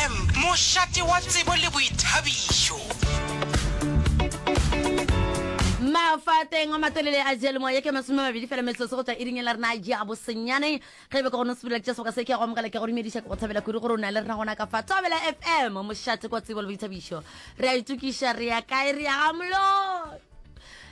FM, mošate wa tsebo le boithabišo. Mafateng a matelele a diyalemoya ke 20 fela metsotso go tšwa iring la rena ya bosenyane. Ge e be ka gona o sepela tša sebaka se ke ya go amogela ke go dumediša ke go thabela kudu gore o na le rena gona ka fa Thobela FM mošate kwa tsebo le boithabišo. Re a itokiša re ya kae re ya ga Moloi.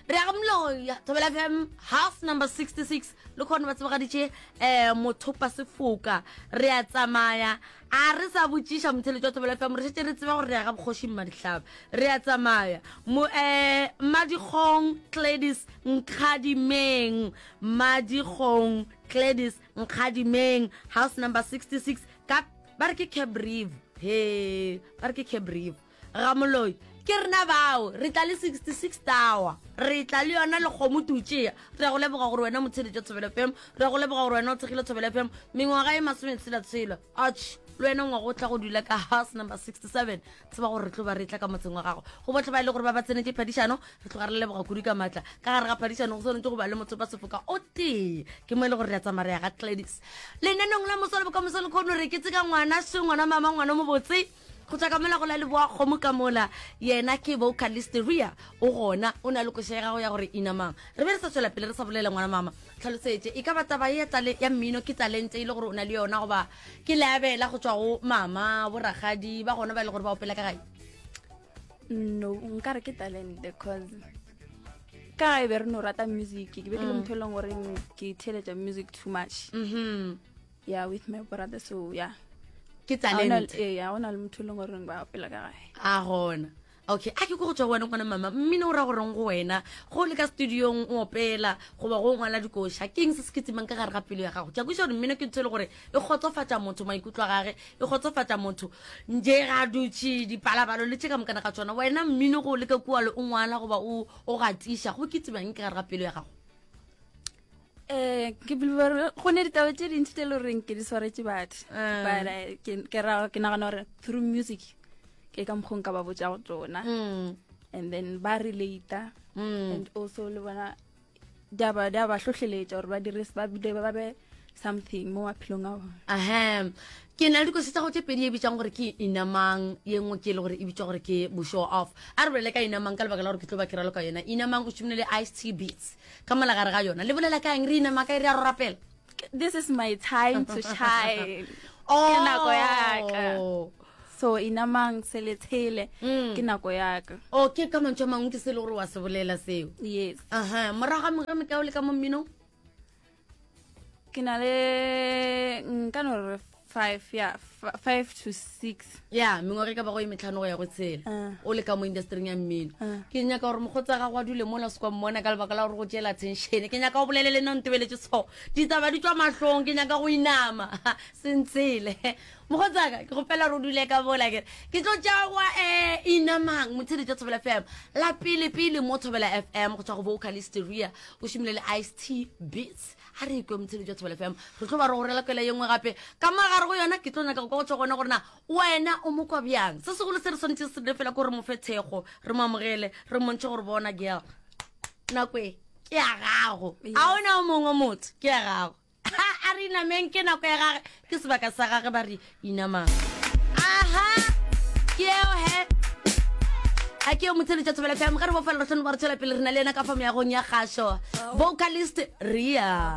Re ya ga Moloi Thobela FM house number 66 le kgone ba tsebagaditše um mothopa sefoka re a tsamaya a re sa botšiša motheletši wa Thobela FM re šetše re tseba gore re ya ga bokgoši Mmadihlaba re a tsamaya mo um Mmadikgong Gladys Nkgadimeng Mmadikgong Gladys Nkgadimeng house number 66 ka ba re ke Cabrive he ba re ke Cabrive Ramoloi ke rena bao re tla le 66 tower re tla le yona le kgomo tutšea re ya go leboga gore wena motheletša Thobela FM re ya go leboga gore wena o thekgile Thobela FM mengwaga e masometshela-tshela atšh le wena ngwaga o tla go dula ka house number 67 tseba gore re tlo ba re tla ka motseng wa gago go botlhe ba e le gore ba ba tsenetše phadišano re tloga re leboga kudu ka maatla ka gare ga phadišano go swanetše go ba le motho ba sefoka o tee ke mo e le gore re a tsamaya re ya ga Gladys lenanong la moso le bokamoso le kgono re ke tseka ngwana se ngwana mama ngwana mo botse go tswa ka mola go la leboa kgomo ka mola yena ke vocalist Ria o gona o na le koša ya gago ya gore inamang re be re sa tswela pele re sa bolela ngwana mama tlhalosetše e ka ba taba ya tale ya mmino ke talente e le gore o na le yona goba ke leabela go tswa go mama boragadi ba gona ba e le gore ba opela ka gae no nka re ke talente cause ka gae be re no rata music ke be ke le motho e leng gore ke theeletša music too much mm -hmm. yeah with my brother so yeah ke talente ee ga gona le motho e leng gore ba opela ka gae a gona okay a ke ko go tswa go wena ngwana mama mmino o ra goreng go wena go le ka studiong o opela goba go ngwala dikoša ke eng se se ketsimang ka gare ga pelo ya gago ke a kweša gore mmino ke ntho e le gore e kgotsofatša motho maikutlo a gage e kgotsofatša motho nje ga dutše dipalabalo le tše ka mokana ga tsona wena mmino go le ka kua le o ngwala goba o o gatiša go ketsimang ka gare ga pelo ya gago Eh, ke believe gore go ne ditaba tše dintši tše e le goreng ke di swaretše batho Eh. but eh, ke ke ra- ke nagana gore through music ke ka mokgwa o nka ba botša go tsona Mm, and then ba relata mm. and also le bona di a ba di a ba hlohleletša gore ba dire ba bile ba be something mo maphelong a bona Ahem. Ke na le dikosi tsa go tše pedi e bitsang gore ke Inamang, ye nngwe ke e le gore e bitswa gore ke bo show off. A re bolele ka Inamang ka lebaka la gore ke tlo ba ke raloka yona. Inamang o šomile le Ice T Beats. Ka mola gare ga yona. Le bolela ka eng re inama kae re a ro rapela? This is my time to shine. Oh. Ke nako ya ka. So inamang se le tshele Mm. ke nako ya ka. Oh, ke ka mantšu a mangwe ke se e le gore wa se bolela seo. Yes. Aha, morago ga mengwaga e mekae o le ka mo mminong? Ke na le nka no re 5 yeah 5 to 6. Ya, mengwaga e ka bago e metlhano go ya go tshela. Uh. O le ka mo industryng ya mmino. Uh. Ke nyaka gore mokgotsi wa gago a dule mola o se kwa mmona ka lebaka la gore go tšeela attention. Ke nyaka o bolele le nna o ntebeletše so. Ditaba di tšwa mahlong, ke nyaka go inama. Se ntshele. Mokgotsi wa ka, ke kgopela gore o dule ka mola ke re. Ke tlo tšea wa eh inamang motheeletši wa Thobela FM. La pele pele mo Thobela FM go tšwa go vocalist Ria o šomile le Ice T Beats. A re kwe motheeletši wa Thobela FM. Re tlo ba re go rela kwela ye nngwe gape. Ka mo gare go yona ke tlo nyaka go kwa go tšwa gona gore na wena o mo kwa bjang. Se segolo se re swanetše se dire fela ke gore mo fe thekgo, re mo amogele, re mmontšhe gore bona girl nako e ke ya gago. A ona o mongwe motho ke ya gago. A re inameng ke nako ya gage ke sebaka sa gage ba re inamang aha ke eo he a ke yo motheletša thobela fm ge re bofela re tlhone ba re tšwela pele re na le yena ka fa meagong ya kgašo vocalist ria.